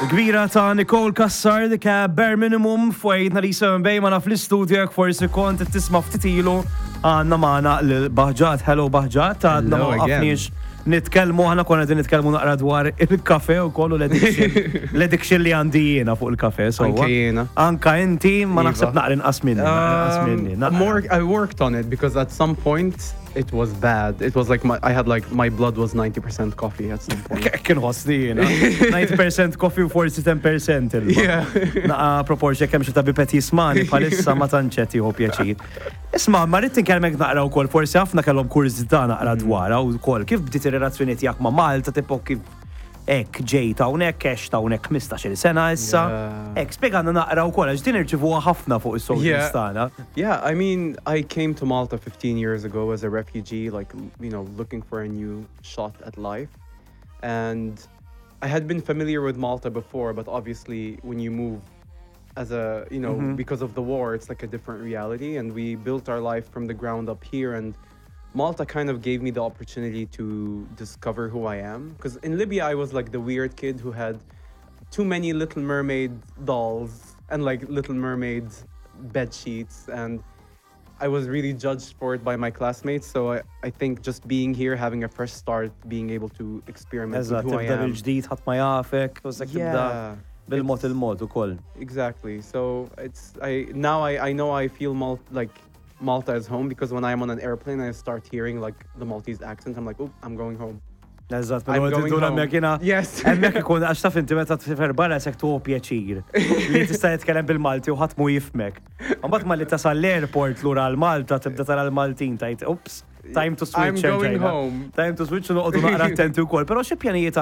Kbira ta' Nicole Cassar, dik Bare Minimum fuq 97 Bay magħna fl-istudio. Jekk forsi kont tisma' ftit ilu, għandna magħna l-Baħġat. Hello, Baħġat, għadna ma Hello again. waqafniex nitkellmu, aħna konna qegħdin nitkellmu naqra dwar il-kafe u kollu l-addiction li għandi jiena fuq il-kafe. So Anke jiena. Anka inti, ma Iva. naħseb naqra inqas minni. Naqra inqas minni. More, I worked on it because at some point it was bad. It was like my, I had like my blood was 90% coffee at some point. Kien ħossni jiena. 90% coffee u forsi 10% ilma. Naqa proporzja kemm xi tabib qed jismani bħalissa ma tantx qed jieħu pjaċir. Isma', ma rrid inkellmek naqra wkoll, forsi ħafna kellhom kurżità naqra dwarha wkoll. Kif bdiet ir-relazzjoni tiegħek ma' Malta, tipo kif hekk ġejt hawnhekk, għext hawnhekk 15-il sena issa? Hekk, spjegana naqra wkoll għax din irċivuha ħafna fuq is-socials tagħna. Yeah, I mean, I came to Malta 15 years ago as a refugee, like, looking for a new shot at life. And I had been familiar with Malta before, but obviously when you move as a, you know, because of the war, it's like a different reality. And we built our life from the ground up here. And Malta kind of gave me the opportunity to discover who I am. Because in Libya, I was like the weird kid who had too many Little Mermaid dolls and like Little Mermaid bed sheets. And I was really judged for it by my classmates. So I think just being here, having a fresh start, being able to experiment with Eżatt, who I tibda am. bil-ġdid, ħadd ma jafek, u sekk tibda bil-mod il-mod ukoll. Exactly. So it's I now I know I feel like Malta is home because when I'm on an airplane, I start hearing like the Maltese accent. I'm like, "Oh, I'm going home." Eżatt, I'm minn going għod home. hemmhekk jiena. Hemmhekk ikun għax taf inti meta tfifer barra sekk tuħu pjaċir li tista' jitkellem bil-Malti u ħadd mu jifhmek. Mbagħad ma li tasal l-airport lura għal Malta tibda tara l-Maltin tajt, "Oops, time to switch." I'm going erġajna. home. Time to switch u noqogħdu naqra attenti wkoll. Però xi pjanijiet